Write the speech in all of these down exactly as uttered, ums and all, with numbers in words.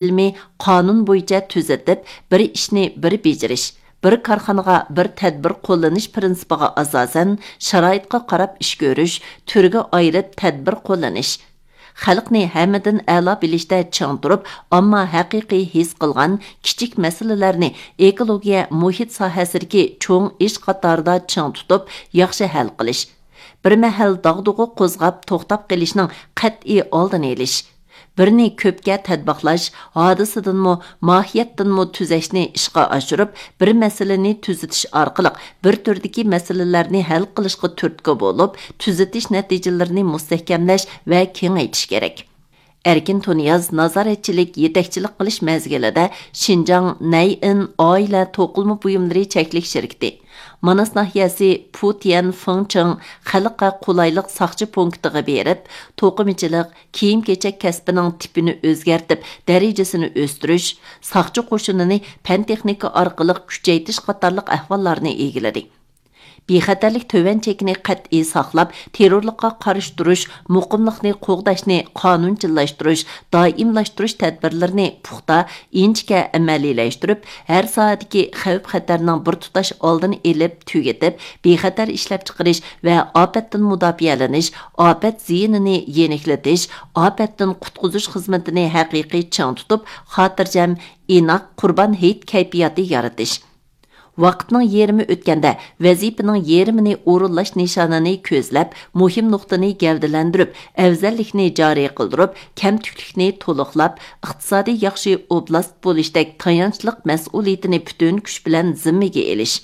ئىلمىي قانۇن بويىچە تۈزىتىپ، بىر ئىشنى بىر بېجىرىش، بىر كارخانىغا بىر تەدبىر قوللىنىش پىرىنسىپىغا ئاساسەن، شارائىتقا قاراپ ئىش كۆرۈش، تۈرگە ئايرىپ تەدبىر قوللىنىش، خەلقنى ھەممىدىن ئەلا بىلىشتە چىڭ تۇرۇپ، ئامما ھەقىقىي ھېس قىلغان كىچىك مەسىلىلەرنى ئېكولوگىيە، مۇھىت ساھەسىدىكى چوڭ ئىش قاتارىدا چىڭ تۇتۇپ، ياخشى ھەل قىلىش، بىر مەھەل داغدۇغا قوزغاپ توختاپ قېلىشنىڭ قەتئىي ئالدىنى ئېلىش، بىرنى كۆپكە تەتبىقلاش، ھادىسىدىنمۇ، ماھىيەتتىنمۇ تۈزەشنى ئىشقا ئاشۇرۇپ، بىر مەسىلىنى تۈزىتىش ئارقىلىق بىر تۈردىكى مەسىلىلەرنى ھەل قىلىشقا تۈرتكە بولۇپ، تۈزىتىش نەتىجىلىرىنى مۇستەھكەملەش ۋە كېڭەيتىش كېرەك. ئەركىن تۇنىياز نازارەتچىلىك، يېتەكچىلىك قىلىش مەزگىلىدە شىنجاڭ نەيئىن ئائىلە توقۇلما بۇيۇملىرى چەكلىك شىركىتى، ماناس ناھىيەسى پۇتيەن فېڭچىڭ خەلققە قولايلىق ساقچى پونكىتىغا بېرىپ، توقۇمىچىلىق، كىيىم-كېچەك كەسپىنىڭ تىپىنى ئۆزگەرتىپ، دەرىجىسىنى ئۆستۈرۈش، ساقچى قوشۇنىنى پەن-تېخنىكا ئارقىلىق كۈچەيتىش قاتارلىق ئەھۋاللارنى ئىگىلىدى. بىخەتەرلىك تۆۋەن چېكىنى قەتئىي ساقلاپ، تېررورلۇققا قارشى تۇرۇش، مۇقىملىقنى قوغداشنى قانۇنچىللاشتۇرۇش، دائىملاشتۇرۇش تەدبىرلىرىنى پۇختا، ئىنچىكە ئەمەلىيلەشتۈرۈپ، ھەر ساھەدىكى خەۋپ-خەتەرنىڭ بىر تۇتاش ئالدىنى ئېلىپ تۈگىتىپ، بىخەتەر ئىشلەپچىقىرىش ۋە ئاپەتتىن مۇداپىئەلىنىش، ئاپەت زىيىنىنى يېنىكلىتىش، ئاپەتتىن قۇتقۇزۇش خىزمىتىنى ھەقىقىي چىڭ تۇتۇپ، خاتىرجەم، ئىناق قۇربان ھېيت كەيپىياتى يارىتىش. ۋاقىتنىڭ يېرىمى ئۆتكەندە، ۋەزىپىنىڭ يېرىمىنى ئورۇنلاش نىشانىنى كۆزلەپ، مۇھىم نۇقتىنى گەۋدىلەندۈرۈپ، ئەۋزەللىكنى جارى قىلدۇرۇپ، كەمتۈكلۈكنى تولۇقلاپ، ئىقتىسادىي ياخشى ئوبلاست بولۇشتەك تايانچلىق مەسئۇلىيىتىنى پۈتۈن كۈچ بىلەن زىممىگە ئېلىش.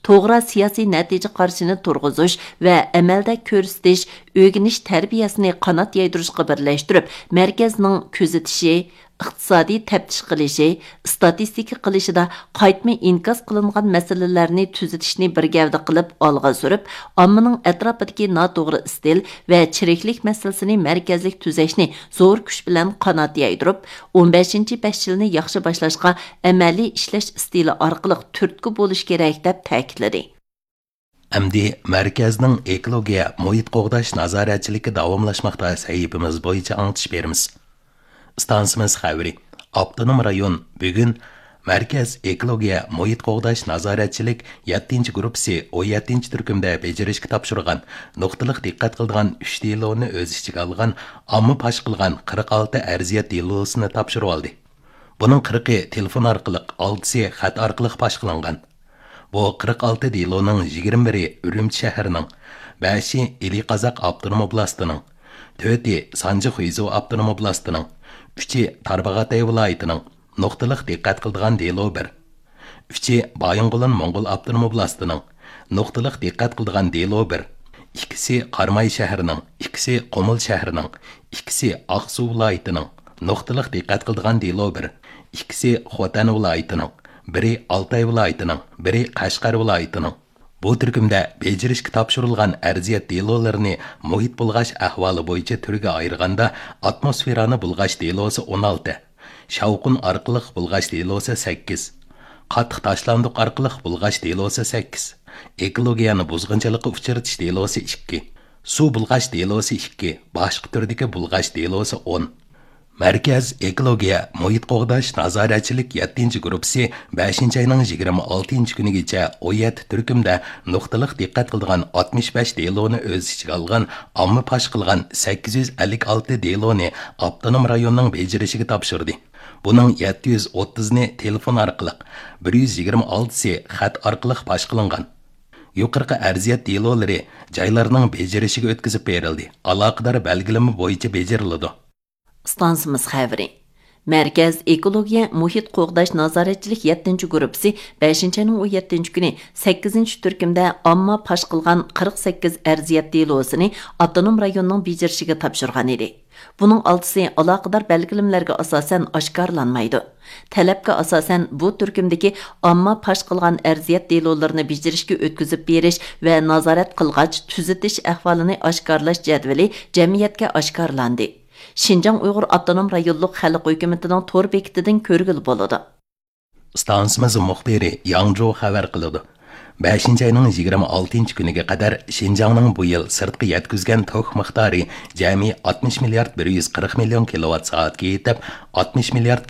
توغرا سىياسىي نەتىجە قارىشىنى تۇرغۇزۇش ۋە ئەمەلدە كۆرسىتىش، ئۆگىنىش تەربىيەسىنى قانات يايدۇرۇشقا بىرلەشتۈرۈپ، مەركەزنىڭ كۆزىتىشى، ئىقتىسادىي تەپتىش قىلىشى، ئىستاتىستىكا قىلىشىدا قايتما ئىنكاس قىلىنغان مەسىلىلەرنى تۈزىتىشنى بىر گەۋدە قىلىپ ئالغا سۈرۈپ، ئاممىنىڭ ئەتراپىدىكى ناتوغرا ئىستىل ۋە چىرىكلىك مەسىلىسىنى مەركەزلىك تۈزەشنى زور كۈچ بىلەن قانات يايدۇرۇپ، ئون بەشىنچى بەش يىلنى ياخشى باشلاشقا ئەمەلىي ئىشلەش ئىستىلى ئارقىلىق تۈرتكە بولۇش كېرەك، دەپ تەكىتلىدى. ئەمدى مەركەزنىڭ ئېكولوگىيە، مۇھىت قوغداش نازارەتچىلىكى داۋاملاشماقتا سەھىپىمىز بويىچە ئاڭلىتىش بېرىمىز. ئىستانسىمىز خەۋىرى. ئاپتونوم رايون بۈگۈن مەركەز ئېكولوگىيە، مۇھىت قوغداش نازارەتچىلىك يەتتىنچى گۇرۇپپىسى ئون يەتتىنچى تۈركۈمدە بېجىرىشكە تاپشۇرغان نۇقتىلىق دىققەت قىلىدىغان ئۈچ دېلونى ئۆز ئىچىگە ئالغان ئامما پاش قىلغان قىرىق ئالتە ئەرزىيەت دېلوسىنى تاپشۇرۇۋالدى. بۇنىڭ قىرىقى تېلېفون ئارقىلىق، ئالتىسى خەت ئارقىلىق پاش قىلىنغان. بۇ قىرىق ئالتە دېلونىڭ يىگىرمە بىرى ئۈرۈمچى شەھىرىنىڭ، بەشى ئىلى قازاق ئاپتونوم ئوبلاستىنىڭ، تۆتى سانجى خۇيزۇ ئاپتونوم ئوبلاستىنىڭ، ئۈچى تارباغاتاي ۋىلايىتىنىڭ، نۇقتىلىق دىققەت قىلىدىغان دېلو بىر، ئۈچى بايىنغولىن موڭغۇل ئاپتونوم ئوبلاستىنىڭ، نۇقتىلىق دىققەت قىلىدىغان دېلو بىر، ئىككىسى قاراماي شەھىرىنىڭ، ئىككىسى قۇمۇل شەھىرىنىڭ، ئىككىسى ئاقسۇ ۋىلايىتىنىڭ، نۇقتىلىق دىققەت قىلىدىغان دېلو بىر، ئىككىسى خوتەن ۋىلايىتىنىڭ، بىرى ئالتاي ۋىلايىتىنىڭ، بىرى قەشقەر ۋىلايىتىنىڭ. بۇ تۈركۈمدە بېجىرىشكە تاپشۇرۇلغان ئەرزىيەت دېلولىرىنى مۇھىت بۇلغاش ئەھۋالى بويىچە تۈرگە ئايرىغاندا، ئاتموسفېرانى بۇلغاش دېلوسى ئون ئالتە، شاۋقۇن ئارقىلىق بۇلغاش دېلوسى سەككىز، قاتتىق تاشلاندۇق ئارقىلىق بۇلغاش دېلوسى سەككىز، ئېكولوگىيەنى بۇزغۇنچىلىققا ئۇچرىتىش دېلوسى ئىككى، سۇ بۇلغاش دېلوسى ئىككى، باشقا تۈردىكى بۇلغاش دېلوسى ئون. مەركەز ئېكولوگىيە، مۇھىت قوغداش نازارەتچىلىك يەتتىنچى گۇرۇپپىسى بەشىنچى ئاينىڭ يىگىرمە ئالتىنچى كۈنىگىچە ئون يەتتە تۈركۈمدە نۇقتىلىق دىققەت قىلىدىغان ئاتمىش بەش دېلونى ئۆز ئىچىگە ئالغان ئامما پاش قىلغان سەككىز يۈز ئەللىك ئالتە دېلونى ئاپتونوم رايوننىڭ بېجىرىشىگە تاپشۇردى. بۇنىڭ يەتتە يۈز ئوتتۇزنى تېلېفون ئارقىلىق، بىر يۈز يىگىرمە ئالتىسى خەت ئارقىلىق پاش قىلىنغان. يۇقىرىقى ئەرزىيەت دېلولىرى جايلارنىڭ بېجىرىشىگە ئۆتكۈزۈپ بېرىلدى، ئالاقىدار بەلگىلىمە بويىچە بېجىرىلىدۇ. ئىستانسىمىز خەۋىرى. مەركەز ئېكولوگىيە، مۇھىت قوغداش نازارەتچىلىك يەتتىنچى گۇرۇپپىسى بەشىنچى ئاينىڭ ئون يەتتىنچى كۈنى سەككىزىنچى تۈركۈمدە ئامما پاش قىلغان قىرىق سەككىز ئەرزىيەت دېلوسىنى ئاپتونوم رايوننىڭ بېجىرىشىگە تاپشۇرغان ئىدى. بۇنىڭ ئالتىسى ئالاقىدار بەلگىلىمىلەرگە ئاساسەن ئاشكارىلانمايدۇ. تەلەپكە ئاساسەن، بۇ تۈركۈمدىكى ئامما پاش قىلغان ئەرزىيەت دېلولىرىنى بېجىرىشكە ئۆتكۈزۈپ بېرىش ۋە نازارەت قىلغاچ تۈزىتىش ئەھۋالىنى ئاشكارىلاش جەدۋىلى جەمئىيەتكە ئاشكارىلاندى. شىنجاڭ ئۇيغۇر ئاپتونوم رايونلۇق خەلق ھۆكۈمىتىنىڭ تور بېكىتىدىن كۆرگىلى بولىدۇ. ئىستانسىمىز مۇخبىرى ياڭ جۇ خەۋەر قىلىدۇ. بەشىنچى ئاينىڭ يىگىرمە ئالتىنچى كۈنىگە قەدەر شىنجاڭنىڭ بۇ يىل سىرتقا يەتكۈزگەن توك مىقدارى جەمئىي ئاتمىش مىليارد بىر يۈز قىرىق مىليون كىلوۋات سائەتكە يېتىپ، ئاتمىش مىليارد